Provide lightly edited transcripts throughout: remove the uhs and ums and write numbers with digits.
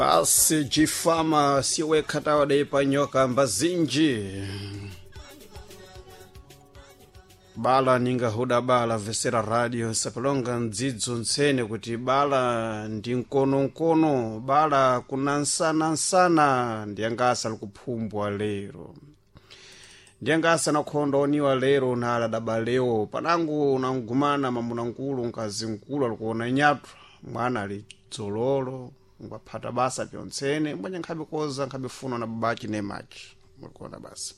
Basi jifama siwekha tawadaipa nyoka mbazinji bala ningahuda bala vesera radio sapalonga ndzidzo ntsene kuti bala ndi mkonomkono bala kuna nsanansana ndiyangasa likuphumbwa lero ndiyangasa nakhondo oniwa lero nala daba leo panangu nangumana mamuna nkulu nkazi nkulu alikuona nyatwa mwana ali dzololo ngwaphata basa pyontsene mbwenye nkhabe koza nkhabe funa na babachi nemachi mulikuona basa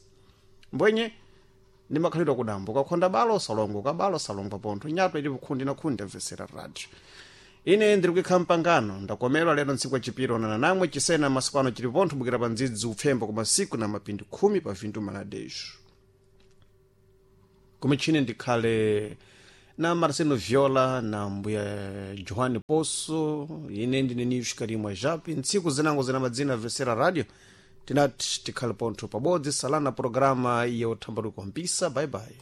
mbwenye ndimakhalidwa kudambo kakhonda balo salongo kabalo salongo pontho nyatwa ili kukhundi na khundi amvesera radio ine ndiri kuikha mpangano ndakomelwa lero ntsiku yachipiro onana namwe chisena masiku ano chili pontho bukira pa ndzidzi upfemba kwa masiku na mapindi khumi pa vintu maladexo kumichini ndikhale na Marcelo Viola na mbuya Johanne Poço ine ndine Nilson Karimwa Japi ntsiku zinango zina madzina vesera radio tinati tikhale pontho pabodzi salana programa ya uthambaluko mpisa bye bye.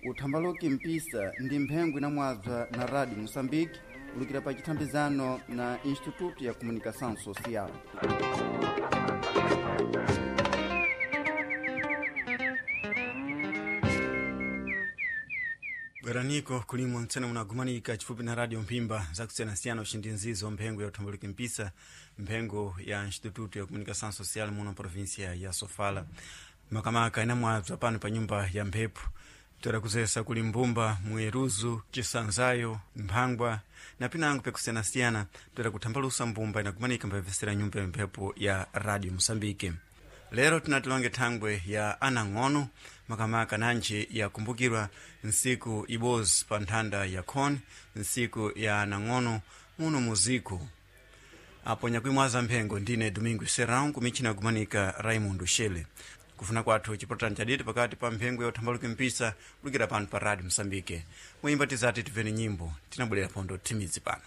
Uthambaluki mpisa ndi mphengo inamwabza na Radio Moçambique ulukira pa chithambizano na Instituto ya Comunicação Social. Bweraniko kulimwa mtsene munagumanika chifupi na radio Mpimba zakusiyanasiyana uxindi nzizo mphengo ya uthambaluki mpisa mphengo ya Instituto ya Comunicação Social muno província ya Sofala makamaka inamwabza pano pa nyumba ya mphepo toera kuzesa kuli mbumba mueruzu cisanzayo mphangwa na pinango pyakusiyanasiyana toera kuthambalusa mbumba inagumanika mpavesera nyumba ya mphepo ya radio Moçambique. Lero tinatilonge thangwe ya anang'ono makamaka nanji yakumbukirwa nsiku ibozi pa nthanda ya khoni nsiku ya anang'ono muno muziku apo nyakuimwaza mphengo ndine Domingo Serrão kumichina kumanika Raimundo Shele kufuna kwathu chipotani chaditi pakati pa mphengo ya uthambaluki mpisa kulukira pano pa Radio Msambike mwimba tizati timveni nyimbo tinabwerera pondo timidzi pano.